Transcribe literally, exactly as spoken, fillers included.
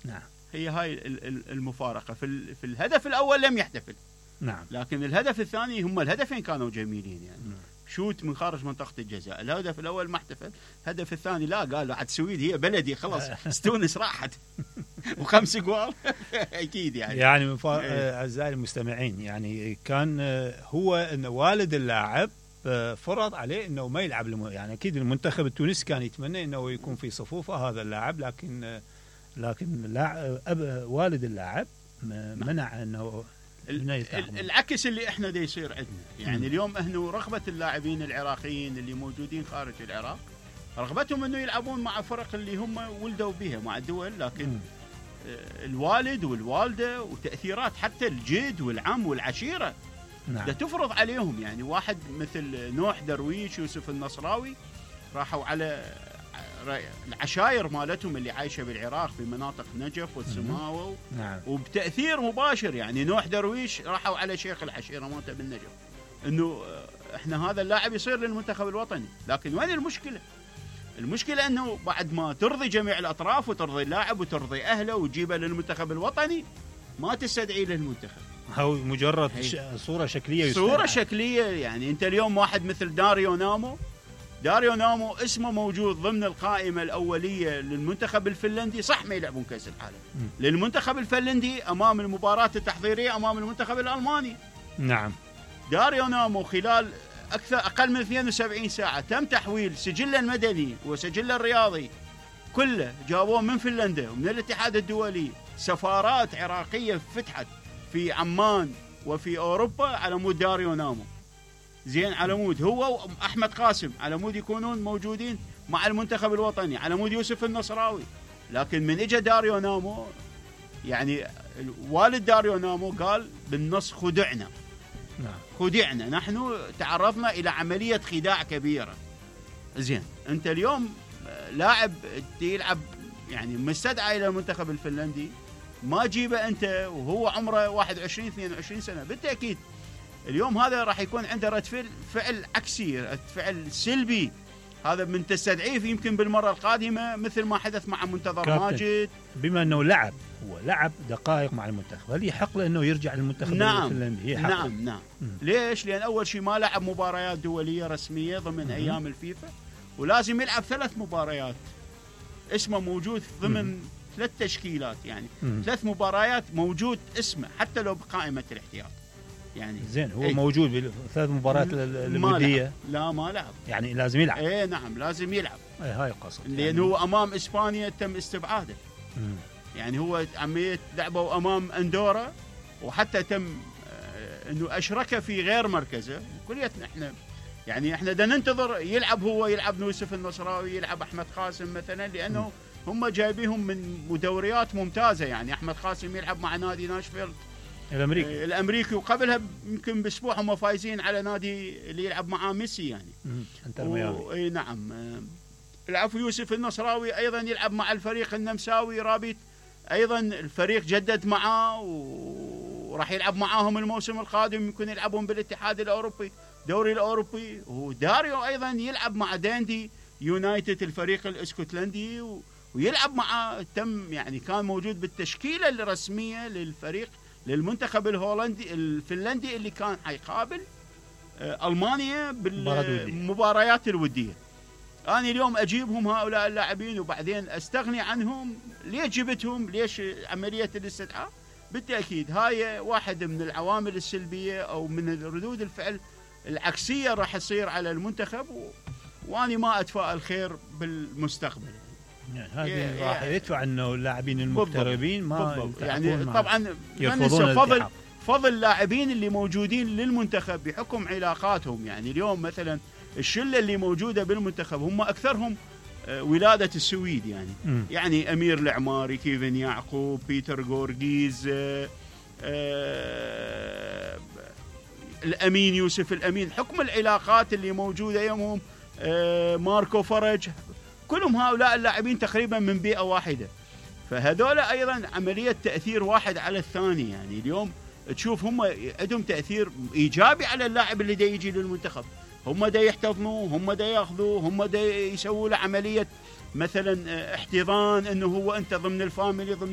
نعم. هي هاي المفارقة. في, في الهدف الأول لم يحتفل. نعم. لكن الهدف الثاني هم الهدفين كانوا جميلين يعني. نعم. شوت من خارج منطقة الجزاء. الهدف الأول ما احتفل، الهدف الثاني لا، قال عاد السويد هي بلدي خلاص استونس راحت وخمس جوال أكيد يعني. يعني مفا... أعزائي المستمعين، يعني كان هو إن والد اللاعب فرض عليه إنه ما يلعب الم... يعني أكيد المنتخب التونسي كان يتمنى إنه يكون في صفوفه هذا اللاعب، لكن لكن اللاعب أب... والد اللاعب منع إنه العكس اللي احنا دا يصير عندنا يعني. م. اليوم احنا رغبة اللاعبين العراقيين اللي موجودين خارج العراق رغبتهم انه يلعبون مع فرق اللي هم ولدوا بها مع الدول، لكن م. الوالد والوالدة وتأثيرات حتى الجد والعم والعشيرة نعم. دا تفرض عليهم يعني. واحد مثل نوح درويش، يوسف النصراوي، راحوا على العشائر مالتهم اللي عايشة بالعراق في مناطق نجف والسماوة نعم. وبتأثير مباشر يعني. نوح درويش راحوا على شيخ العشيرة مالته بالنجف انه احنا هذا اللاعب يصير للمنتخب الوطني. لكن وين المشكلة؟ المشكلة انه بعد ما ترضي جميع الاطراف وترضي اللاعب وترضي اهله وتجيبه للمنتخب الوطني ما تستدعي للمنتخب. هو مجرد ش... صورة شكلية صورة يستدعي. شكلية يعني. انت اليوم واحد مثل داريو نامو داريو نامو اسمه موجود ضمن القائمة الأولية للمنتخب الفنلندي، صح ما يلعبون كأس العالم م. للمنتخب الفنلندي أمام المباراة التحضيرية أمام المنتخب الألماني. نعم. داريو نامو خلال أكثر أقل من اثنين وسبعين ساعة تم تحويل سجله المدني وسجله الرياضي كله، جابوه من فنلندا ومن الاتحاد الدولي. سفارات عراقية فتحت في عمان وفي أوروبا على مود داريو نامو. زين، على مود هو وأحمد قاسم على مود يكونون موجودين مع المنتخب الوطني، على مود يوسف النصراوي. لكن من اجى داريو نامو يعني والد داريو نامو قال بالنص خدعنا. نعم. خدعنا، نحن تعرضنا إلى عملية خداع كبيرة. زين، أنت اليوم لاعب يلعب يعني مستدعى إلى المنتخب الفنلندي، ما جيبه أنت وهو عمره واحد وعشرين اثنين وعشرين سنة، بالتأكيد اليوم هذا راح يكون عنده رد فعل فعل عكسي، رد فعل سلبي. هذا من تستدعيه يمكن بالمرة القادمة مثل ما حدث مع منتظر ماجد. بما أنه لعب هو لعب دقائق مع المنتخب، هل يحق له أنه يرجع للمنتخب نعم. الفنلندي؟ نعم نعم. م. ليش؟ لأن أول شيء ما لعب مباريات دولية رسمية ضمن م. أيام الفيفا، ولازم يلعب ثلاث مباريات اسمه موجود ضمن م. ثلاث تشكيلات يعني. م. ثلاث مباريات موجود اسمه حتى لو بقائمة الاحتياط يعني. زين، هو ايه؟ موجود بثلاث مباريات الودية؟ لا ما لعب، يعني لازم يلعب. ايه نعم لازم يلعب. ايه هاي القصد، لأنه يعني هو أمام إسبانيا تم استبعاده. مم. يعني هو عملية لعبه أمام أندورا، وحتى تم آه إنه أشركه في غير مركزه. كليتنا إحنا يعني إحنا دا ننتظر يلعب هو، يلعب يوسف النصراوي، يلعب أحمد قاسم مثلا، لأنه مم. هم جايبيهم من دوريات ممتازة. يعني أحمد قاسم يلعب مع نادي ناشفيلد الامريكي الامريكي وقبلها يمكن باسبوع هم فايزين على نادي اللي يلعب معاه ميسي يعني. انتر ميامي. اي نعم. العفو يوسف النصراوي ايضا يلعب مع الفريق النمساوي رابط، ايضا الفريق جدد معاه وراح يلعب معاهم الموسم القادم، يمكن يلعبون بالاتحاد الاوروبي دوري الاوروبي. وداريو ايضا يلعب مع داندي يونايتد الفريق الاسكتلندي ويلعب مع تم يعني كان موجود بالتشكيله الرسميه للفريق للمنتخب الهولندي الفنلندي اللي كان حيقابل ألمانيا بالمباريات الودية. أنا اليوم أجيبهم هؤلاء اللاعبين وبعدين أستغني عنهم. ليش جبتهم؟ ليش عملية الاستدعاء؟ بالتأكيد هاي واحد من العوامل السلبية أو من ردود الفعل العكسية راح تصير على المنتخب، و... وأنا ما أتفائل خير بالمستقبل. يعني هذه راح يدفع انه اللاعبين المغتربين ما يعني طبعا يرفضون فضل فضل اللاعبين اللي موجودين للمنتخب بحكم علاقاتهم. يعني اليوم مثلا الشله اللي موجوده بالمنتخب هم اكثرهم ولاده السويد يعني. م. يعني امير العماري، كيفن يعقوب، بيتر غورغيز، الامين يوسف الامين، حكم العلاقات اللي موجوده يمهم، ماركو فرج، كلهم هؤلاء اللاعبين تقريبا من بيئة واحدة. فهذول أيضا عملية تأثير واحد على الثاني. يعني اليوم تشوف هم عندهم تأثير إيجابي على اللاعب اللي دا يجي للمنتخب. هم دا يحتضنوا، هم دا ياخذوا، هم دا يسووا له عملية مثلا احتضان انه هو انت ضمن الفاميلي ضمن